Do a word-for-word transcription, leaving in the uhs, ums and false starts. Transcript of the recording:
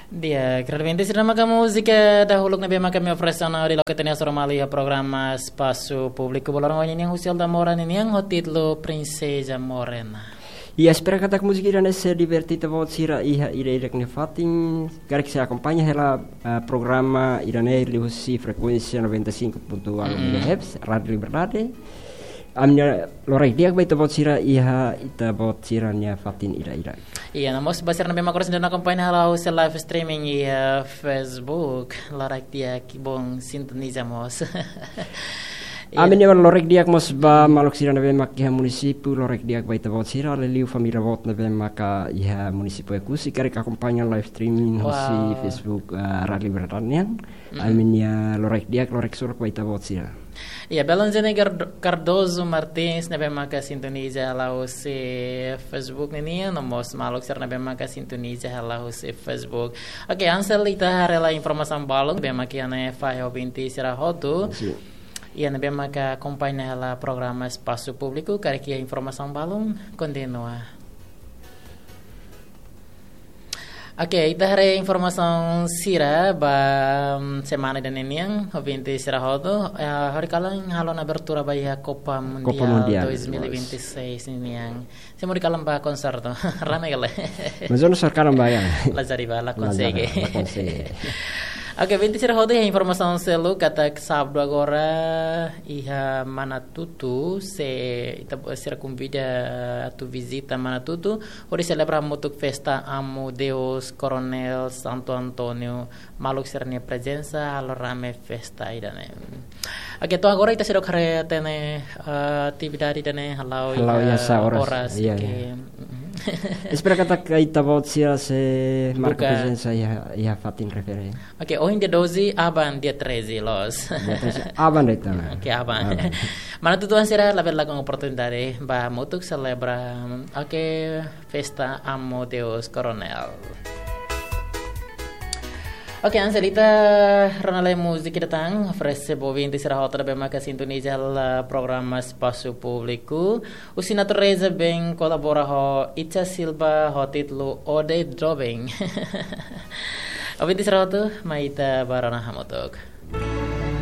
Di'ak, ouvinte sira, ne'e maka múzika dahuluk ne'ebé maka ami oferese ona hodi loke tiha ona hasoru malu iha programa Espasu Públiku ba loron ohin nian, husi Elda Mora nian, ho títulu Princesa Morena. I espera katak múzika ida-ne'e sei diverte ita-boot sira iha ida-idak nia fatin, karik sei akompaña hela, ah, programa ida-ne'e liuhusi frekuénsia noventa e cinco ponto uno Mm-mm. megahertz, Rádiu Liberdade. Ami-nia loraik di'ak ba ita-boot sira iha ita-boot sira-nia fatin ida-idak. Iya, no mós ba sira ne'ebé maka oras ne'e akompaña hela husi live streaming iha Facebook, loraik di'ak, bom sintoniza mós. Iya. Ami-nia loraik di'ak mós ba maluk sira ne'ebé maka iha munisípiu, loraik di'ak ba ita-boot sira, liuliu família boot ne'ebé maka iha munisípiu Oekusi, karik akompaña live streaming husi Wow. Facebook, ah, Rádiu Liberdade nian. Mm-mm. Ami-nia loraik di'ak, loraik solok ba ita-boot sira. Iya, belun Zene Gardo-, Cardoso Martins ne'ebé maka sintoniza hela husi Facebook nian, no mós maluk sira ne'ebé maka sintoniza hela husi Facebook. Oke, Ansel, ita haree hela informasaun balun ne'ebé maka iha ne'e fahe ouvinte sira hotu. Sin. Iya, ne'ebé maka akompaña hela programa Espasu Públiku, karik iha informasaun balun, kontinua. Oke, ita haree informasaun sira ba, mm, semana ida-ne'e nian, ouvinte sira hotu, eh, horikalan halo ona abertura ba iha Copa Copa Mundial Mundial, dois mil e vinte e seis nian. Sé mak horikalan ba konsertu, rame ka lae? Mas eu não sou cara ba ya. Lazari ba la Lazari, konsege. La konsege. Oke, ouvinte sira hotu, iha informasaun seluk katak sábadu agora iha Manatutu, se ita sira konvida atu vizita Manatutu, hodi selebra hamutuk festa Amo Deus Coronel Santo António, maluk sira-nia prezensa, halo rame festa ida-ne'e. Oke, to'o agora ita seidauk haree hatene, eh, atividade ida-ne'e hala'o Hala'o iha iha sá oras. Oras, Iya, oke. iya. Mm-mm. Espera katak ita-boot sira sei marka Buka. Prezensa iha, iha fatin refere. Oke, ohin dia doze, aban dia treze, loos. Dia treze, aban de'it ona. Oke, aban. Aban. Manatutu-an sira, labele lakon oportunidade ba hamutuk selebra, oke, festa Amo Deus Coronel. Oke, Ansel, ita rona lai múzika ida tan, oferese ba ouvinte sira hotu ne'ebé maka sintoniza hela programa Espasu Públiku. Husi Natureza Bem kolabora ho Icha Silva ho títulu Ode Doben. Ouvinte sira hotu, mai ita ba rona hamutuk.